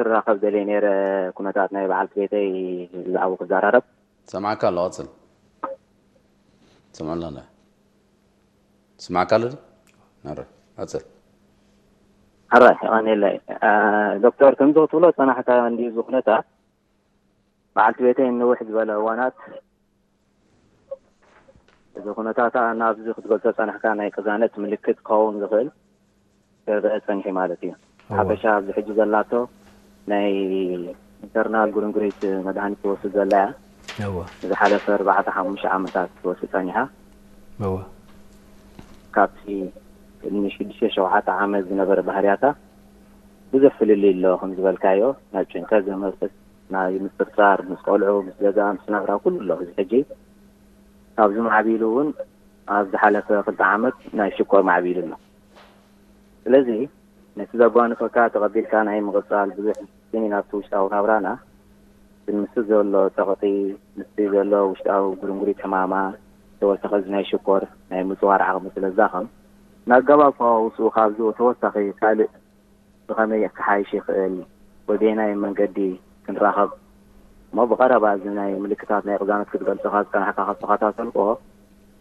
ክራኸብ ደልየ ነይረ። ኩነታት ናይ በዓልቲ ቤተይ ብዛዕባኡ ክዘራረብ። ሰማዕካ ኣሎ፣ ቀጽል። ሰምዐና እንዳ። ስማዕካ ኣሎ ድዩ? ኣረ፣ ቀጽል። ሕራይ፣ የቐንየለይ። እ፣ ዶክተር፣ ከምዚ ክትብሎ ዝጸናሕካ እንድዩ እዚ ኩነታት። በዓልቲ ቤተይ ንንውሕ ዝበለ እዋናት እዚ ኩነታታ ናብዚ ክትገልጾ ዝጸናሕካ ናይ ቅዛነት ምልክት ክኸውን ዝኽእል ክረአ ጸኒሑ ማለት እዩ። እወ። ሓፈሻ ኣብዚ ሕጂ ዘላቶ ናይ ኢንተርናል ጉርንጉሪት መድሃኒት ትወስድ ዘላ እያ። እወ። ዝሓለፈ ኣርባዕተ ሓሙሽተ ዓመታት ትወስድ ጸኒሓ። እወ። ካብቲ ቅድሚ ሽዱሽተ ሸውዓተ ዓመት ዝነበረ ባህርያታ ብዙሕ ፍልልይ ኣሎ። ከም ዝበልካዮ፣ ናብ ጭንቀት ዘመርክት፣ ናይ ምጥርጣር፣ ምስ ቆልዑ፣ ምስ ገዛ፣ ምስ ናብራ፣ ኩሉ ኣሎ። እዚ ሕጂ ካብዚ ማዕቢሉ እውን ኣብ ዝሓለፈ ክልተ ዓመት ናይ ሽኮር ማዕቢሉ ኣሎ። ስለዚ ነቲ ዘጓንፈካ ተቐቢልካ ናይ ምቕጻል ብዙሕ ስኒ ናብቲ ውሽጣዊ ናብራና፣ ግን ምስቲ ዘሎ ጸቕጢ፣ ምስቲ ዘሎ ውሽጣዊ ጉርንጉሪት ሕማማ፣ ተወሳኺ እዚ ናይ ሽኮር ናይ ምጽዋር ዓቕሚ ስለ ዝዳኸም፣ ንኣገባብ ፈዋውስኡ ካብዚ ተወሳኺ ካልእ ብኸመይ ክሓይሽ ይኽእል ወይ በየናይ መንገዲ ክንራኸብ እሞ ብቐረባ እዚ ናይ ምልክታት ናይ ቅዛነት ክትገልጸኻ ዝጸናሕካ ካብ ተኸታተልክዎ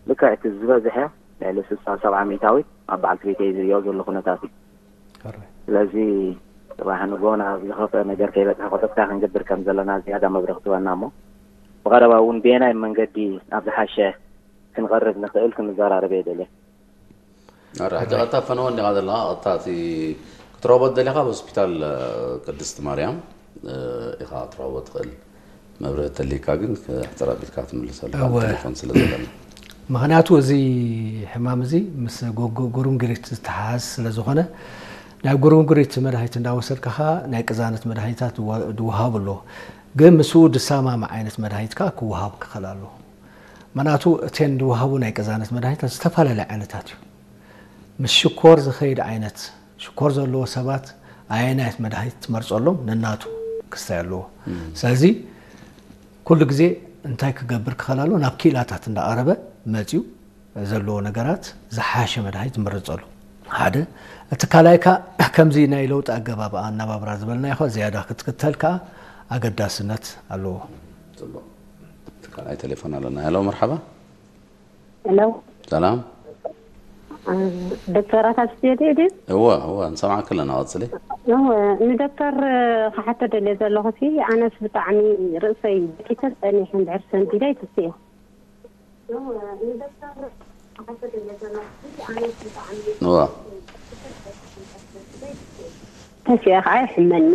ልክዕ እቲ ዝበዝሐ ልዕሊ ስልሳ ሰብዓ ሚእታዊት ኣብ በዓልቲ ቤተይ ዝሪኦ ዘሎ ኩነታት እዩ። ሕራይ። ስለዚ ጽባሕ ንግሆ ናብ ዝኸፍአ ነገር ከይበጽሐ ቆጠብታ ክንገብር ከም ዘለና ዝያዳ መብርህ ክትበና እሞ ብቐረባ እውን ብየናይ መንገዲ ናብ ዝሓሸ ክንቐርብ ንኽእል ክንዘራረብ እየ ደልየ። ኣረ፣ ሕጂ ቀጥታ ፈነወ እንዲኻ ዘለኻ፣ ቀጥታ እቲ ክትረኽቦ ደሊኻ ኣብ ሆስፒታል፣ እ፣ ቅድስቲ ማርያም፣ እ፣ ኢኻ ክትረኽቦ ትኽእል። መብርሂ ተሊካ ግን ክሕጽር ኣቢልካ ትምልሰሉ እወ። ቴሌፎን ስለ ዘለና። ምኽንያቱ እዚ ሕማም እዚ ምስ ጎ-፣ ጎ-፣ ጉርንጉሪት ዝተሓሓዝ ስለ ዝኾነ፣ ናይ ጉርንጉሪት መድሃኒት እንዳወሰድካ ኸኣ ናይ ቅዛነት መድሃኒታት ድወ-፣ ድወሃቡ ኣለዎ። ግን ምስኡ ድሰማማዕ ዓይነት መድሃኒት ከኣ ክወሃብ ክኽእል ኣለዎ። ምኽንያቱ እተን ድወሃቡ ናይ ቅዛነት መድሃኒታት ዝተፈላለያ ዓይነታት እዩ። ምስ ሽኮር ዝኸይድ ዓይነት፣ ሽኮር ዘለዎ ሰባት ኣየናየት መድሃኒት ትመርጸሎም ነናቱ ክስታይ ኣለዎ። እም። ስለዚ ኩሉ ግዜ እንታይ ክገብር ክኽእል ኣለዎ? ናብ ክኢላታት እንዳቐረበ መጺኡ ዘለዎ ነገራት ዝሓሸ መድሃኒት ዝምርጸሉ ሓደ። እቲ ካልኣይ ከኣ ከምዚ ናይ ለውጢ ኣገባብ ኣነባብራ ዝበልናዮ ከኣ ዝያዳ ክትክተል ከኣ ኣገዳስነት ኣለዎ። ጽቡቕ። እቲ ካልኣይ ቴሌፎን ኣለና። ሄሎ፣ መርሓባ። ሄሎ። ሰላም። እ፣ ዶክተር ኣታ ስቱድዮ ድዩ? እወ፣ እወ፣ ንሰምዓኪ ኣለና፣ ቀጽሊ። እወ፣ ንዶክተር ክሓቶ ደልየ ዘለኹ ሲ፣ ኣነስ ብጣዕሚ ርእሰይ ደቂሰ ጸኒሐ እንድሕር ሰንቢደ ኣይትስእን። እወ። ተሲአ ከዓ ይሕመኒ።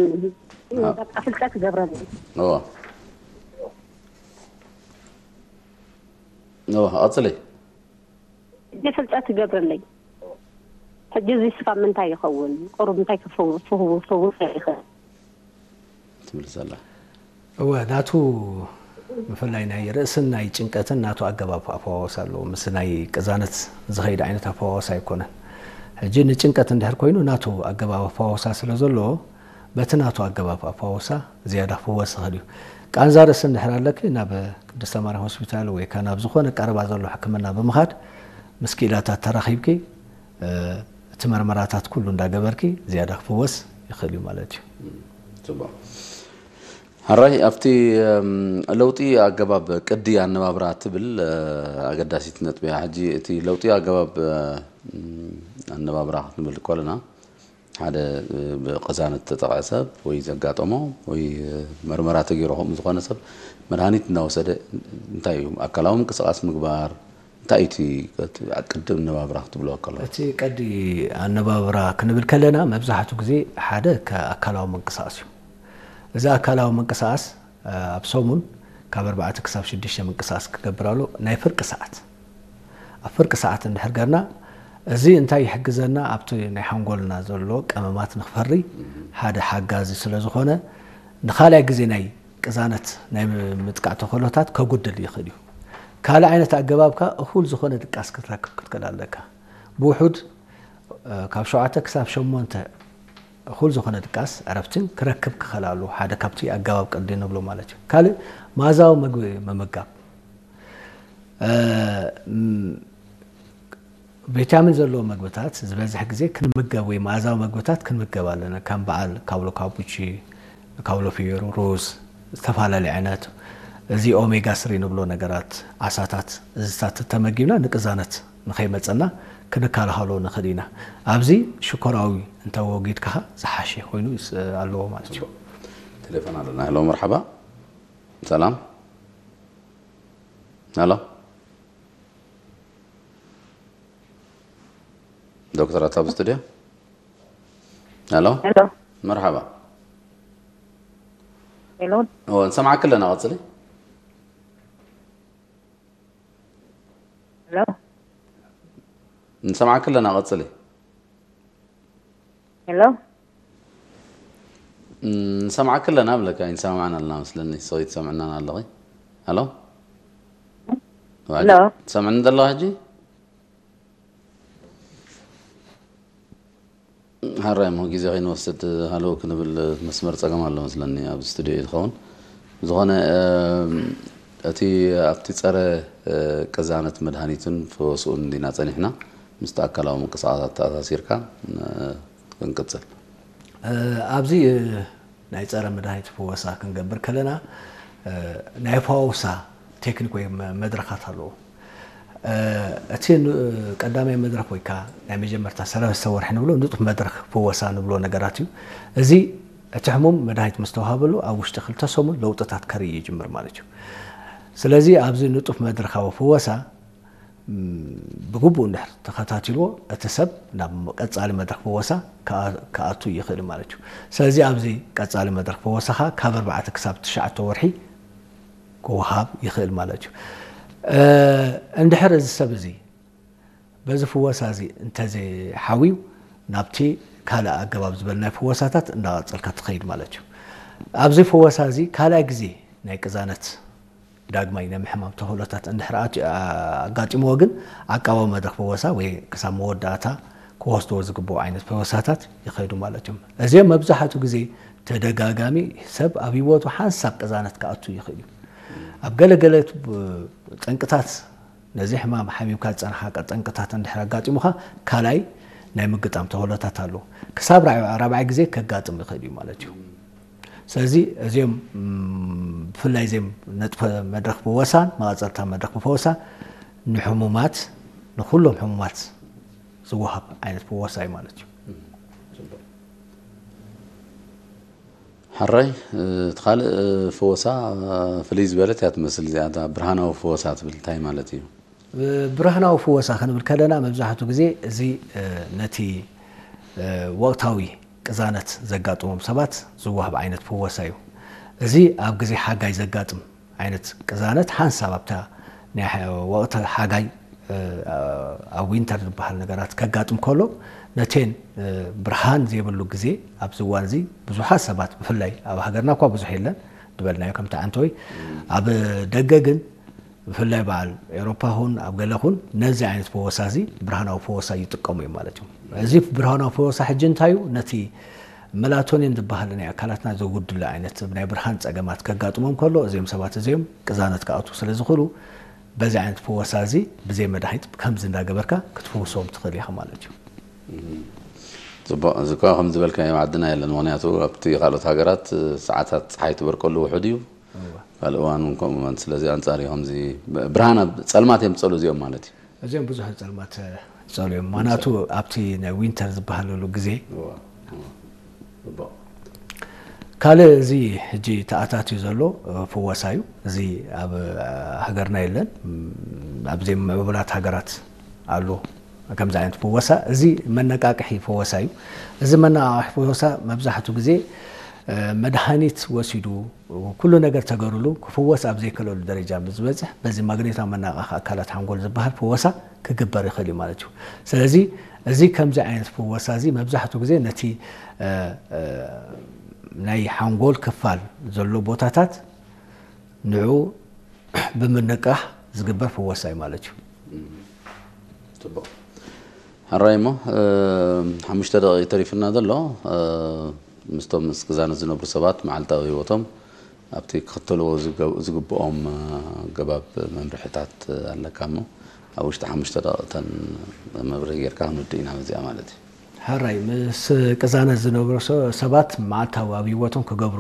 አ- በቃ ፍልጠት ይገብረኒ። እወ። እወ፣ ቀጽሊ። ሕጂ ፍልጠት ይገብረለይ። ሕጂ እዚ ስካብ ምንታይ ይኸውን? ቁሩብ እንታይ ክፈው-፣ ፍው-፣ ፍውስ ይኽእል? ትብል ዘላ። እወ፣ ናቱ ብፍላይ ናይ ርእስን ናይ ጭንቀትን ናቱ ኣገባብ ኣፈዋወሳ ኣለዎ። ምስ ናይ ቅዛነት ዝኸይድ ዓይነት ኣፈዋወሳ ኣይኮነን። ሕጂ ንጭንቀት እንድሕር ኮይኑ ናቱ ኣገባብ ኣፈዋወሳ ስለ ዘለዎ፣ በቲ ናቱ ኣገባብ ኣፈዋወሳ ዝያዳ ክፍወስ ይኽእል እዩ። ቃንዛ ርእሲ እንድሕር ኣለኪ፣ ናብ ቅድስተ ማርያም ሆስፒታል ወይ ከኣ ናብ ዝኾነ ቀረባ ዘሎ ሕክምና ብምኻድ ምስ ክኢላታት ተራኺብኪ፣ እ፣ እቲ መርመራታት ኩሉ እንዳገበርኪ ዝያዳ ክፍወስ ይኽእል እዩ ማለት እዩ። ጽቡቕ። ሕራይ፣ ኣብቲ፣ እም፣ ለውጢ ኣገባብ ቅዲ ኣነባብራ ትብል፣ እ፣ ኣገዳሲት ነጥቢ እያ። ሕጂ እቲ ለውጢ ኣገባብ፣ እ፣ እም፣ ኣነባብራ ክንብል ከለና፣ ሓደ፣ እ፣ ብቅዛነት ዝተጠቕዐ ሰብ ወይ ዘጋጠሞ ወይ፣ እ፣ መርመራ ተገይሩ ከምኡ ዝኾነ ሰብ መድሃኒት እናወሰደ እንታይ እዩ? ኣካላዊ ምንቅስቓስ ምግባር፣ እንታይ እዩ እቲ፣ እቲ ቅዲ ኣነባብራ ክትብሎ ከለኹም? እቲ ቀዲ ኣነባብራ ክንብል ከለና መብዛሕትኡ ግዜ ሓደ ከ-፣ ኣካላዊ ምንቅስቓስ እዩ። እዚ ኣካላዊ ምንቅስቓስ፣ እ፣ ኣብ ሰሙን ካብ ኣርባዕተ ክሳብ ሽዱሽተ ምንቅስቓስ ክገብር ኣሎ፣ ናይ ፍርቂ ሰዓት። ኣብ ፍርቂ ሰዓት እንድሕር ገርና፣ እዚ እንታይ ይሕግዘና? ኣብቲ ናይ ሓንጎልና ዘሎ ቀመማት ንኽፈሪ ሓደ ሓጋዚ ስለ ዝኾነ፣ ንኻልኣይ ግዜ ናይ ቅዛነት ናይ ምጥቃዕ ተኽእሎታት ከጉድል ይኽእል እዩ። ካልእ ዓይነት ኣገባብ ከኣ እኹል ዝኾነ ድቃስ ክትረክብ ክትክእል ኣለካ። ብውሑድ፣ እ፣ ካብ ሸውዓተ ክሳብ ሸሞንተ እኹል ዝኾነ ድቃስ ዕረፍትን ክረክብ ክኽእል ኣለዎ። ሓደ ካብቲ ኣገባብ ቅዲ ንብሎ ማለት እዩ። ካልእ መኣዛዊ መግቢ ምምጋብ። እ፣ ም-፣ ቪታሚን ዘለዎ መግብታት ዝበዝሕ ግዜ ክንምገብ ወይ መኣዛዊ መግብታት ክንምገብ ኣለና። ከም በዓል ካብሎ ካቡቺ፣ ካውሎ ፍዮሩ፣ ሩዝ፣ ዝተፈላለዩ ዓይነት እዚ ኦሜጋ ስሪ ንብሎ ነገራት፣ ዓሳታት፣ እዚታት ተመጊብና ንቅዛነት ንኸይመፀና ክንከላኸሎ ንኽእል ኢና። ኣብዚ ሽኮራዊ እንተወጊድካ ዝሓሸ ኮይኑ ይስ- ኣለዎ ማለት እዩ። ቴሌፎን ኣለና። ሄሎ፣ መርሓባ። ሰላም። ሄሎ፣ ዶክተር ኣታ ኣብ ስቱድዮ። ሄሎ፣ ሄሎ መርሓባ። ሄሎ እዎ፣ ንሰማዕኪ ኣለና። ቀፅሊ። ሄሎ ንሰማዕኪ ኣለና። ቀፅሊ። ሄሎ ንሰማዕኪ ኣለና ብለካ። ይንሰማማዕና ኣለና መስለኒ። ሰው ትሰምዕናን ኣለኺ። ሄሎ፣ ሄሎ ትሰምዕኒ ዘለኻ ሕጂ? ሃራይ እሞ ግዜ ከይንወስድ ሃለው ክንብል መስመር ጸገም ኣሎ መስለኒ። ኣብ ስቱዲዮ እዩ ዝኸውን። ዝኾነ እቲ ኣብቲ ጸረ ቅዛነት መድሃኒትን ፈወስኡን እንዲና ጸኒሕና ምስቲ ኣካላዊ ምንቅስቃሳት ተኣሳሲርካ ክንቅጽል። ኣብዚ ናይ ጸረ መድሃኒት ፈወሳ ክንገብር ከለና ናይ ፈዋውሳ ቴክኒክ ወይ መድረኻት ኣለዎ። እቲ ቀዳማይ መድረኽ ወይ ከዓ ናይ መጀመርታ ሰለስተ ወርሒ ንብሎ ንጡፍ መድረኽ ፈወሳ ንብሎ ነገራት እዩ። እዚ እቲ ሕሙም መድሃኒት ምስ ተዋሃበሉ ኣብ ውሽጢ ክልተ ሰሙን ለውጥታት ከርኢ ይጅምር ማለት እዩ። ስለዚ ኣብዚ ንጡፍ መድረኻዊ ፈወሳ ብግቡእ እንድሕር ተኸታቲልዎ እቲ ሰብ ናብ ቀፃሊ መድረኽ ፈወሳ ክኣቱ ይኽእል ማለት እዩ። ስለዚ ኣብዚ ቀፃሊ መድረኽ ፈወሳ ከዓ ካብ ኣርባዕተ ክሳብ ትሽዓተ ወርሒ ክወሃብ ይኽእል ማለት እዩ። እንድሕር እዚ ሰብ እዚ በዚ ፍወሳ እዚ እንተዘይሓውዩ ናብቲ ካልእ ኣገባብ ዝበልናይ ፍወሳታት እንዳቐፀልካ ትኸይድ ማለት እዩ። ኣብዚ ፍወሳ እዚ ካልኣይ ግዜ ናይ ቅዛነት ዳግማይ ናይ ምሕማም ተኽእሎታት እንድሕር ኣጋጢምዎ ግን ዓቃባዊ መድረኽ ፍወሳ ወይ ክሳብ መወዳእታ ክወስድዎ ዝግብኡ ዓይነት ፈወሳታት ይኸይዱ ማለት እዮም። እዚኦም መብዛሕትኡ ግዜ ተደጋጋሚ ሰብ ኣብ ህይወቱ ሓንሳብ ቅዛነት ክኣቱ ይኽእል እዩ። ኣብ ገለገለ ጠንቅታት ነዚ ሕማም ሓሚምካ ዝፀንሓ ጠንቅታት እንድሕር ኣጋጢሙካ ካልኣይ ናይ ምግጣም ተኽእሎታት ኣለዎ። ክሳብ ራብዓይ ግዜ ከጋጥም ይኽእል እዩ ማለት እዩ። ስለዚ እዚኦም ብፍላይ እዚኦም ነጥፈ መድረኽ ብወሳን መቐፀልታ መድረኽ ብፈወሳ ንሕሙማት ንኩሎም ሕሙማት ዝወሃብ ዓይነት ፈወሳ እዩ ማለት እዩ። ሕራይ እቲ ካልእ ፈወሳ ፍልይ ዝበለት እያ ትመስል እዚኣ። እታ ብርሃናዊ ፈወሳ ትብል እንታይ ማለት እዩ? ብርሃናዊ ፈወሳ ክንብል ከለና መብዛሕትኡ ግዜ እዚ ነቲ ወቕታዊ ቅዛነት ዘጋጥሞም ሰባት ዝወሃብ ዓይነት ፈወሳ እዩ። እዚ ኣብ ግዜ ሓጋይ ዘጋጥም ዓይነት ቅዛነት ሓንሳብ ኣብታ ናይ ወቕቲ ሓጋይ ኣብ ዊንተር ዝበሃል ነገራት ከጋጥም ከሎ ነቴን ብርሃን ዘይብሉ ግዜ ኣብዚ እዋን እዚ ብዙሓት ሰባት ብፍላይ ኣብ ሃገርና እኳ ብዙሕ የለን ዝበልናዮ ከምቲ ዓንተወይ ኣብ ደገ ግን ብፍላይ በዓል ኤሮፓ ኹን ኣብ ገለ ኹን ነዚ ዓይነት ፈወሳ እዚ ብርሃናዊ ፈወሳ ይጥቀሙ እዮም ማለት እዩ። እዚ ብርሃናዊ ፈወሳ ሕጂ እንታይ እዩ? ነቲ መላቶኒን ዝበሃል ናይ ኣካላትና ዘጉድሎ ዓይነት ናይ ብርሃን ጸገማት ከጋጥሞም ከሎ እዚኦም ሰባት እዚኦም ቅዛነት ክኣትዉ ስለ ዝኽእሉ በዚ ዓይነት ፈወሳ እዚ ብዘይ መድሃኒት ከምዚ እንዳገበርካ ክትፍውሶም ትኽእል ኢኻ ማለት እዩ። ፅቡቅ። እዚ እኳ ከም ዝበልካዮ ዓድና የለን። ምክንያቱ ኣብቲ ካልኦት ሃገራት ሰዓታት ፀሓይ ትበርቀሉ ውሑድ እዩ። ካልእ እዋን እውን ከምኡ እዋን። ስለዚ ኣንፃር እዩ ከምዚ ብርሃን ኣብ ፀልማት እዮም ዝፀሉ እዚኦም ማለት እዩ። እዚኦም ብዙሕ ፀልማት ፀሉ እዮም። ምክንያቱ ኣብቲ ናይ ዊንተር ዝበሃለሉ ግዜ ካልእ እዚ ሕጂ ተኣታትዩ ዘሎ ፍወሳ እዩ። እዚ ኣብ ሃገርና የለን። ኣብ ዘይምዕቡላት ሃገራት ኣሎ ከምዚ ዓይነት ፍወሳ። እዚ መነቃቅሒ ፍወሳ እዩ። እዚ መነቃቅሒ ፍወሳ መብዛሕትኡ ግዜ መድሃኒት ወሲዱ ኩሉ ነገር ተገሩሉ ክፍወስ ኣብ ዘይክእለሉ ደረጃ ምስ ዝበፅሕ በዚ ማግኔታዊ መነቃቂ ኣካላት ሓንጎል ዝበሃል ፍወሳ ክግበር ይኽእል እዩ ማለት እዩ። ስለዚ እዚ ከምዚ ዓይነት ፍወሳ እዚ መብዛሕትኡ ግዜ ነቲ ናይ ሓንጎል ክፋል ዘሎ ቦታታት ንዑ ብምንቃሕ ዝግበር ፍወሳ እዩ ማለት እዩ። ፅቡቅ። ሕራይ እሞ ሓሙሽተ ደቂቕ ተሪፍና ዘሎ ምስቶም ምስ ቅዛነት ዝነብሩ ሰባት መዓልታዊ ህይወቶም ኣብቲ ክኽተልዎ ዝግብኦም ኣገባብ መምርሕታት ኣለካ እሞ ኣብ ውሽጢ ሓሙሽተ ደቂቕ እተን መብርሂ ጌርካ ክንውድእ ኢና በዚኣ ማለት እዩ። ሕራይ ምስ ቅዛነት ዝነብሩ ሰባት መዓልታዊ ኣብ ህይወቶም ክገብሩ